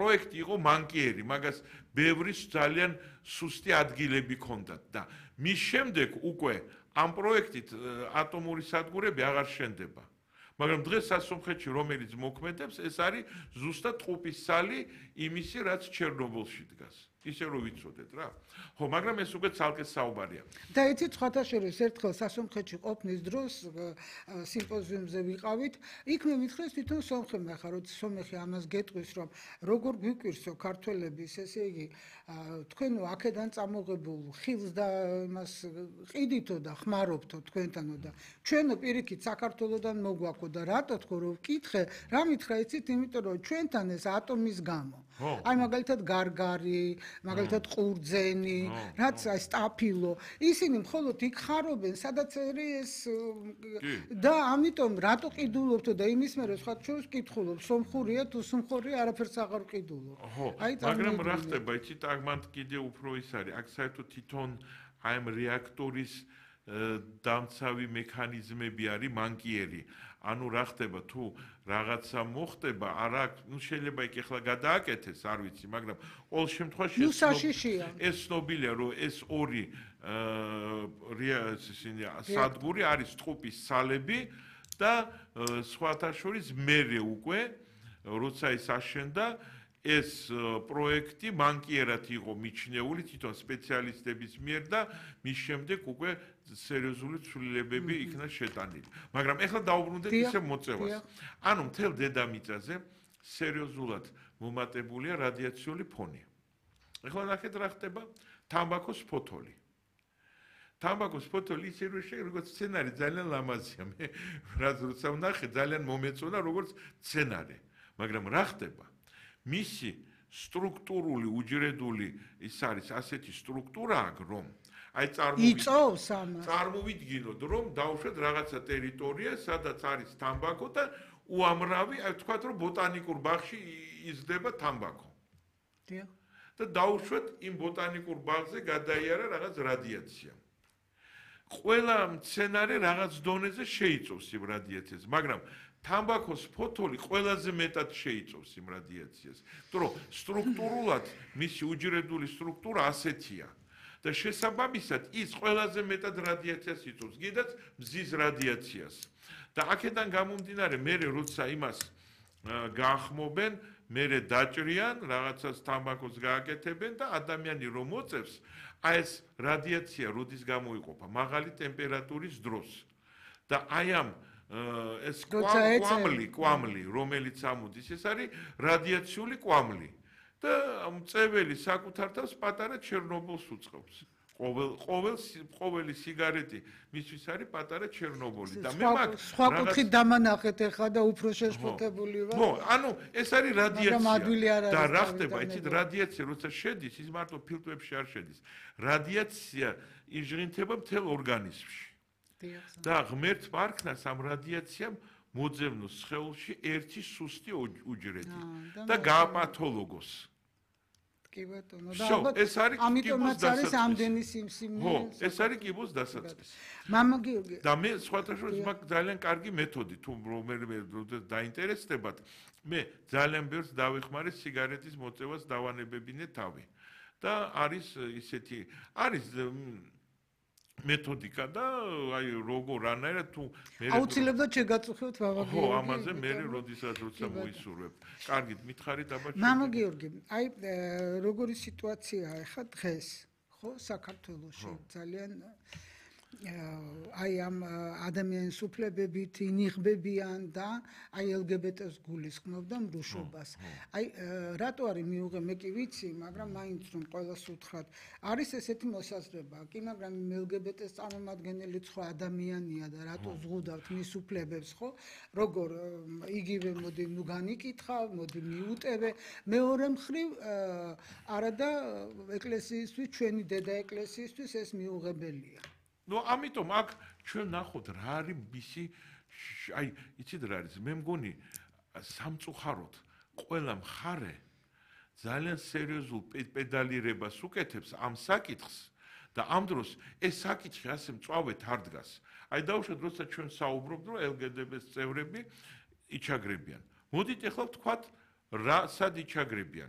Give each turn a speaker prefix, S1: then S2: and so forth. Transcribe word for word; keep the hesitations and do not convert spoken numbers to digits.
S1: პროექტი იყო მანკიერი, მაგას ბევრი ძალიან სუსტი ადგილები ჰქონდათ და მის შემდეგ უკვე ამ პროექტით ატომური სადგურები აღარ შენდება. მაგრამ დღეს სასომხეთში რომელიც მოქმედებს, ეს არის ზუსტად ტყუპის სალი იმისი, რაც ჩერნობილში დგას. ისე რომ ვიცოდეთ რა. ხო, მაგრამ ეს უკვე ცალკე საუბარია.
S2: და იცით, სხვათა შორის ერთხელ სასომხეთში ყოფნის დროს სიმპოზიუმზე ვიყავით, იქ მე მითხრეს თვითონ სომხებმა, ხა როცა სომეხი ამას გეტყვის, რომ როგორ გვიკვირსო ქართველების, ესე იგი, თქვენო აქედან წამოღებულ ხილს და იმას ყიდითო და ხმარობთო თქვენთანო და ჩვენო პირიქით საქართველოსდან მოგვაქვს და რატო თქო რომ ვკითხე, რა მითხრა იცით, იმიტომ რომ ჩვენთან ეს ატომის გამო. აი მაგალითად გარგარი, მაგალითად ყურძენი, რაც აი სტაფილო, ისინი მხოლოდ იქ ხარობენ, სადაც ეს და ამიტომ რატო ყიდულობთო და იმის მერე სხვა შორის კითხულობ, სომხურია თუ სომხურია, არაფერს აღარ ყიდულობ.
S1: აი მაგრამ რა ხდება, იცით, აქ მანდ კიდე უფრო ის არის, აქ საერთოდ თვითონ აი ამ რეაქტორის დამცავი მექანიზმები არის მანკიერი. ანუ რა ხდება თუ რაღაცა მოხდება, არა, ნუ შეიძლება იქ ახლა გადააკეთეს, არ ვიცი, მაგრამ ყოველ შემთხვევაში ეს ცნობილია, რომ ეს ორი სადგური არის ტყუპის სალები და სხვათა შორის მერე უკვე, როცა ის აშენდა, ეს პროექტი მანკიერად იყო მიჩნეული თვითონ სპეციალისტების მიერ და მის შემდეგ უკვე სერიოზული ცვლილებები იქნა შეტანილი. მაგრამ ეხლა დაუბრუნდეთ ისე მოწევას. ანუ მთელ დედამიწაზე სერიოზულად მომატებულია რადიაციული ფონი. ეხლა ნახეთ რა ხდება თამბაქოს ფოთოლი. თამბაქოს ფოთოლი ისე რომ შეიძლება როგორც სცენარი ძალიან ლამაზია. მე რაც როცა ვნახე ძალიან მომეწონა როგორც სცენარი. მაგრამ რა ხდება? მისი სტრუქტურული უჯრედული ის არის ასეთი სტრუქტურა აქვს რომ აი
S2: იწოვს ამას
S1: წარმოვიდგინოთ რომ დავუშვათ რაღაცა ტერიტორია სადაც არის თამბაქო და უამრავი აი ვთქვათ რომ ბოტანიკურ ბაღში იზრდება თამბაქო
S2: დიახ
S1: და დავუშვათ იმ ბოტანიკურ ბაღზე გადაიარა რაღაც რადიაცია ყველა მცენარე რაღაც დონეზე შეიწოვს იმ რადიაციას მაგრამ თამბაქოს ფოთოლი ყველაზე მეტად შეიწოვს იმ რადიაციას. იმიტომ რომ სტრუქტურულად მისი უჯრედული სტრუქტურა ასეთია და შესაბამისად ის ყველაზე მეტად რადიაციას იწოვს, კიდაც მზის რადიაციას. და აქედან გამომდინარე, მერე როცა იმას გაახმობენ, მერე დაჭრიან, რაღაცას თამბაქოს გააკეთებენ და ადამიანი რომ მოწევს, აი ეს რადიაცია როდის გამოიყოფა მაღალი ტემპერატურის დროს. და აი ამ ეს კვამლი, კვამლი, რომელიც ამოდის, ეს არის რადიაციული კვამლი. და მწეველი საკუთარ თავს პატარა ჩერნობილს უწყობს. ყოველ ყოველ ყოველი სიგარეტი მისთვის არის პატარა ჩერნობილი და მე მაგ
S2: სხვა კუთხით დამანახეთ ახლა და უფრო შეშფოთებული ვარ.
S1: ხო, ანუ ეს არის რადიაცია. და რა ხდება, იცით, რადიაცია როცა შედის, ის მარტო ფილტრებში არ შედის. რადიაცია იჟღინთება მთელ ორგანიზმში. და ღმერთ პარქნას ამ რადიაციამ მოძებნოს სხეულში ერთი სუსტი უჯრედი და გააპათოლოგოს.
S2: კი ბატონო, და ალბათ ამიტომაც არის ამდენი სიმსივნე.
S1: ხო, ეს არის კიბოს დასაწყისი.
S2: მამა გიორგი.
S1: და მე სხვათა შორის მაგ ძალიან კარგი მეთოდი, თუ რომელიმე დაინტერესდებათ, მე ძალიან ბევრს დავეხმარე სიგარეტის მოწევას დავანებებინე თავი. და არის ისეთი, არის მეთოდიკა და აი როგორ რანაირად თუ
S2: მე აუცილებლად შეგაწუხებთ მამა გიორგი.
S1: ხო, ამაზე მე როდესაც როცა მოისურვებ. კარგით, მითხარით აბა.
S2: მამა გიორგი, აი როგორი სიტუაციაა ახლა დღეს, ხო, საქართველოში ძალიან აი ამ ადამიანის უფლებებით ინიღბებიან და აი ელ გი ბი ტეს გულისხმობ და მრუშობას. აი რატო არის მიუღე მე კი ვიცი, მაგრამ მაინც რომ ყველას უთხრათ, არის ესეთი მოსაზრება, კი, მაგრამ ელ გი ბი ტეს წარმომადგენელი სხვა ადამიანია და რატო ზღუდავთ მის უფლებებს, ხო? როგორ იგივე მოდი ნუ განიკითხავ, მოდი მიუტევე. მეორე მხრივ არა და ეკლესიისთვის, ჩვენი დედა ეკლესიისთვის ეს მიუღებელია.
S1: ნუ ამიტომ აქ ჩვენ ნახოთ რა არის მისი აი იცით რა არის მე მგონი სამწუხაროდ ყველა მხარე ძალიან სერიოზულ პედალირებას უკეთებს ამ საკითხს და ამ დროს ეს საკითხი ასე მწვავედ არ დგას. აი დავუშვათ როცა ჩვენ საუბრობთ რომ ელ გი ბი ტეს წევრები იჩაგრებიან. მოდით ახლა ვთქვათ რა სად იჩაგრებიან?